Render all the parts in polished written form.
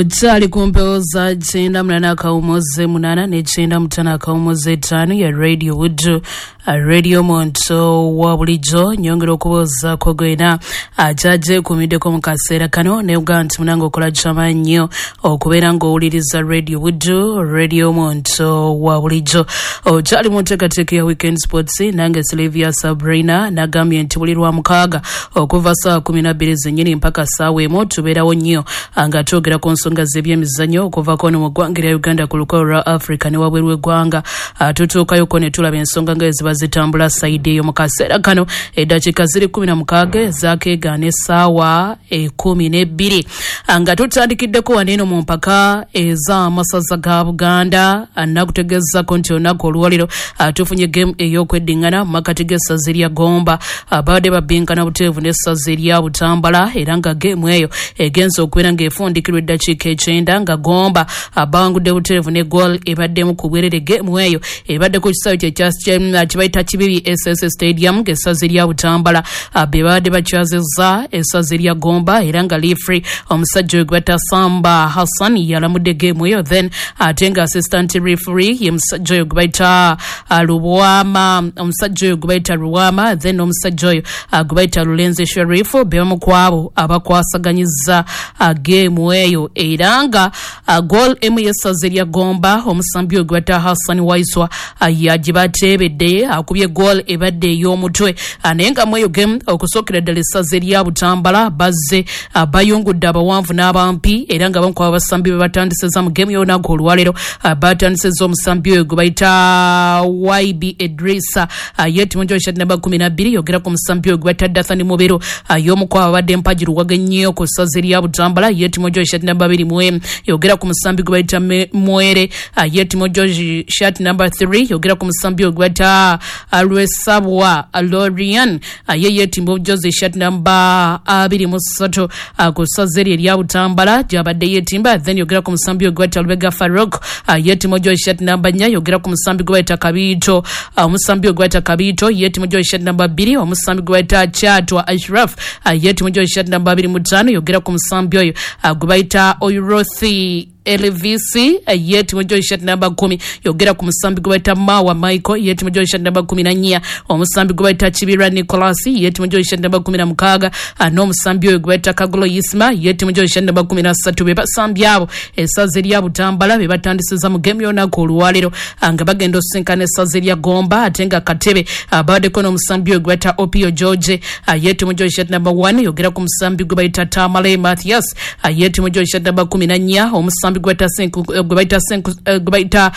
Okyali ku mpewo za 98.8 ne 95.5 ya Radio Buddu, Radio Muntu wa bulijjo. Nyongera okubuuzaako gwena akyagyeekuumiddeko mu kaseera kano nebuga nti munange okola kyamaanyi nnyo okubeera ng'owuliriza Radio Buddu, Radio Muntu wa bulijjo. Okyali mu nteekateeka ya Weekend Sports, nange Sylvia Sabrina. Nagambye nti buli lwa mukaaga okuva ssaawa 12 zennyini mpaka ssaawa 1 tubeerawo nnyo nga twogera ku nsonga z'ebyemizannyo okuvako no mu ggwanga erya Uganda, ku lukalu lwa Africa ne wabweru w'eggwanga. Tutuukayoko ne tulaba ensonga nga eziba zitambula sayidi eyo. Mu kaseera kano eddakiika ziri 16 zakeegaana essaawa 12, nga tutandikiddeko wano eno mu mpaka ez'amasaza ga Buganda. Nakutegeezako nti olunaku olwaliro tufunye game ey'okweddiŋŋana mu makati g'essaza erya Gomba, babadde babbinkana buteevu n'essaza erya Butambala, era nga geemu eyo egenza okubeera ng'efundikirwa eddakiika 90 nga Gomba bawangudde buteevu ne goal ebaddemu ku bwerere. Geemu eyo ebadde ku kisaawe kye bayita Kibibi SS Stadium, ng'essaza erya Butambala be babadde bakyazizza essaza erya Gomba, era nga referee omusajja oyo gwe bayita Samba Hassan yalamudde geemu eyo. Then ate nga assistant referee ye musajja oyo gwe bayita Lubwama, omusajja oyo gwe bayita Lubwama, then omusajja oyo gwe bayita Lulenze Sherifu be bamu ku abo abakwasaganyiza geemu eyo. Era nga goal emu y'essaza erya Gomba, omusambi oyo gwe bayita Hassan Waiswa yagibateebedde, akubye goal ebadde ey'omutwe. Naye nga mu eyo game okusookera ddala essaza erya Butambala bazze bayungudde abawanvu n'abampi, era nga bamu ku abasambi be batandisizza mu game y'olunaku olwaleero, batandisizza omusambi oyo gwe bayita YB Edrisa, yeetimu shati namba 12. Yogera ku musambi oyo gwe bayita Dathan Mubero, y'omu ku abo abadde mpagi luwaga ennyo ku ssaza erya Butambala, yeetimu shati namba 21. Yogera ku musambi gwe bayita Mwere, yeetimu shati namba 3. Yogera ku musambi oyo gwe bayita Lwesabwa Lorian, ye yeetimba obujozi shati namba 23 ku ssaza eryo erya Butambala gyabadde yeetimba. Then yogera ku musambi oyo gwe bayita Lubega Farok, yeetimba obujozi shati namba 4. Yogera ku musambi gwe bayita Kabiito, omusambi oyo gwe bayita Kabiito yeetimba obujozi shati namba 2. Omusambi gwe bayita Kyatwa Ashraf, yeetimba obujozi shati namba 25. Yogera ku musambi oyo gwe bayita Oirothi Elvc, yeetimu shati namba 10. Yogera ku musambi gwe bayita Mawa Michael, yeetimu shati namba 14. Omusambi gwe bayita Kibira Nicholas, yeetimu shati namba 16, n'omusambi oyo gwe bayita Kagulo Isma, yeetimu shati namba 13. Be basambi abo essaza erya Butambala be batandisiza mu game y'olunaku olwaleero nga bagenda osisinkana essaza erya Gomba. Ate nga katebe babaddeko n'omusambi oyo gwe bayita Opio George, yeetimu shati namba 1. Yogera ku musambi gwe bayita Tamale Mathias, yeetimu shati namba 14. Omusambi gwe bayita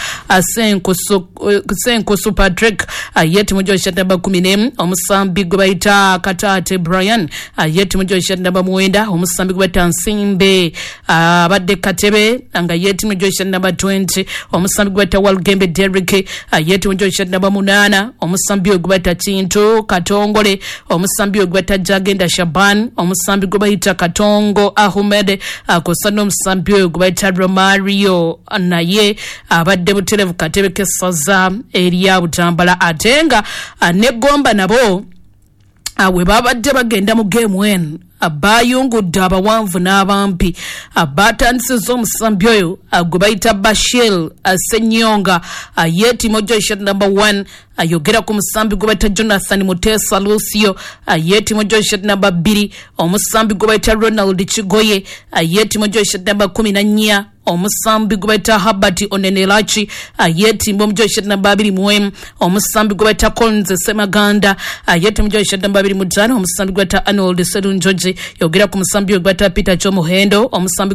Senkusu Patrick, yeetimu shati namba 11. Omusambi gwe bayita Kataate Brian, yeetimu shati namba 9. Omusambi gwe bayita Nsimbe abadde katebe nga yeetimu shati namba 20. Omusambi gwe bayita Walgembe Derrick, yeetimu shati namba 8. Omusambi gwe bayita Kintu Katongole, omusambi gwe bayita Jagenda Shaban, omusambi gwe bayita Katongo Ahmed, kw'ossa n'omusambi oyo gwe bayita Romario, naye abadde buterevu katebe k'essaza erya Butambala. Ate nga ne Gomba nabo we babadde bagenda mu game eno bayungudde abawanvu n'abampi. Batandisizza omusambi oyo gwe bayita Bashir Senyonga, yeetimu shati namba 1. Ayogera ku musambi gwe bayita Jonathan Mutesa Lucio, yeetimu shati namba 2. Omusambi gwe bayita Ronald Kigoye, yeetimu shati namba 14. Omusambi gwe bayita Habert Onenelachi, yeetimba omujozi shati namba 21. Omusambi gwe bayita Collins Semaganda, yeetimba omujozi shati namba 25. Omusambi gwe bayita Arnold Serunjoji. Yogera ku musambi gwe bayita Peter Chomuhendo, omusambi gwe